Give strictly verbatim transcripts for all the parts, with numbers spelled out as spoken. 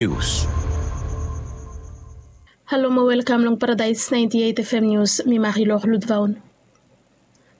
Nius. Halo mo welkam long Paradais ninety eight F M Nius, mi Marilor Ludvaun.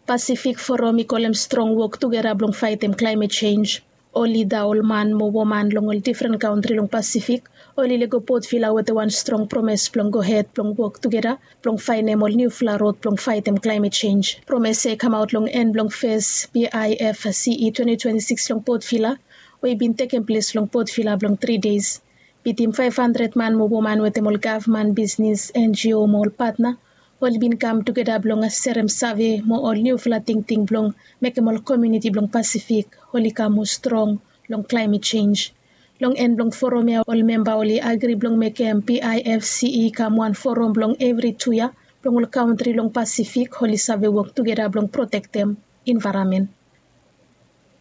Pasifik Forum i kolem strong wok tugera blong faetem klaemet senj. Ol lida, ol man mo woman long ol difren kantri long Pasifik oli lego Port Vila wetem wan strong promes blong gohed blong wok tugera blong faenem ol niufala rod blong faetem klaemet senj. Promes ya i kamaot long en blong fes B I F C E twenty twenty six long Port Vila we i bin tekem ples long Port Vila blong tri deis. Bitim faef handred man mo woman wetem ol gavman, bisnis, N G O mo ol patna oli bin kam tugeta blong serem save mo ol niufala tingting blong mekem ol komuniti blong Pasifik oli kam moa strong long klaemet senj. Long en blong forum ya ol memba oli agri blong mekem B I F C E i kam wan forum blong evri tu yia blong ol kantri long Pasifik oli save wok tugeta blong protektem envaeronmen.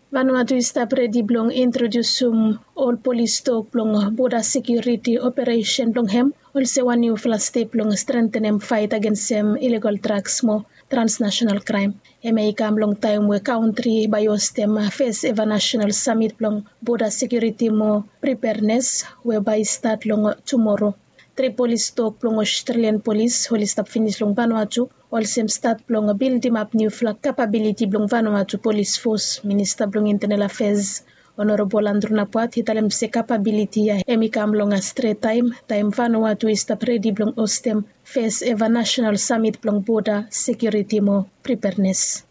Vanuatu i stap redi blong introdiusum ol polis tok blong boda sekiuriti operesen blong hem olsem wan niufala step blong strentenem faet agensem ilegal draks mo transnasenal kraem. Hemia i kam long taem we kantri bae i hostem fes eva nasenal samit blong boda sekiuriti mo pripeanes we bae i stat long tumoro. Tri polis tok blong Australian polis oli stap finis long Vanuatu olsem stat blong bildimap niufala kapabiliti blong Vanuatu polis fos. Minista blong Intenal Afeas Honorabol Andrew Napuat i talem se kapabiliti ya hem i kam long stret taem, taem Vanuatu i stap redi blong hostem fes eva nasenal samit blong boda sekiuriti mo pripeanes.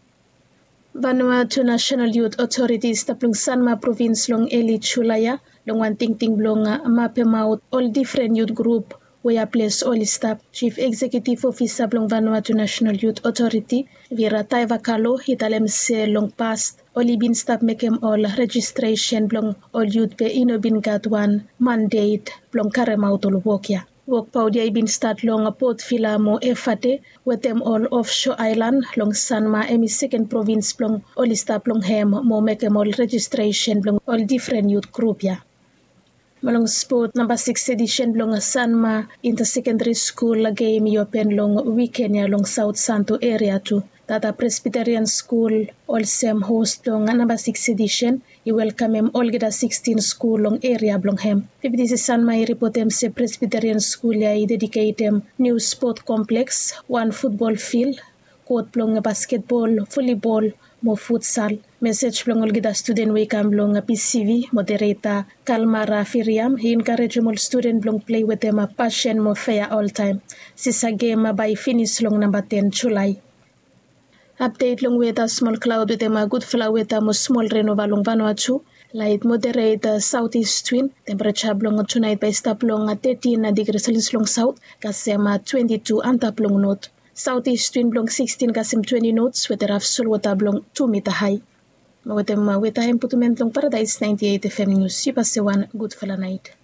Vanuatu Nasenal Yut Otoriti i stap long Sanma provins long eli Julae ya long wan tingting blong mapemaot ol difren yut grup we ya ples oli stap. Jif Eksekiutif Ofisa blong Vanuatu Nasenal Yut Otoriti, Vera Taivakalo, i talem se long past oli bin stap mekem ol rejistresen blong ol yut be i no bin gat wan mandet blong karemaot ol wok ya. Wok paot ya i bin stat long Port Vila mo Efate wetem ol ofso aelan long Sanma, hem i seken provins blong oli stap long hem mo mekem ol rejistresen blong ol difren yut grup ya. Mo long spot, namba sikis edisen blong Sanma Inta Sekendari Skul gem i open long wiken ya long Saot Santo eria tu. Tata Presbiterian Skul olsem hos blong namba sikis edisen i welkamem olgeta sikstin skul long eria blong hem. Fifti Sanma i ripotem se Presbiterian Skul ya i dediketem niu spot kompleks, wan futbol fil, kot blong basketbol, volibol mo futsal. Mesej blong olgeta studen we i kam long P C V, modereta Kalmara Firiam i enkarejem ol studen blong plei wetem pasen mo fea oltaem. Sisa gem bae i finis long namba ten Julae. Apdet long weta, smol klaod wetem gudfala weta mo smol renova long Vanuatu. Laet moderet saotis win. Tempereja blong tunaet bae i stap long tetin digri selis long saot kasem twenti tu antap long not. Saotis win blong sikstin kasem twenti nots wetem raf solwota blong tu mita hae. Mo wetem weta hemputumen blong Paradaes naenti eit F M Nius, yu bae se wan gudfala naet.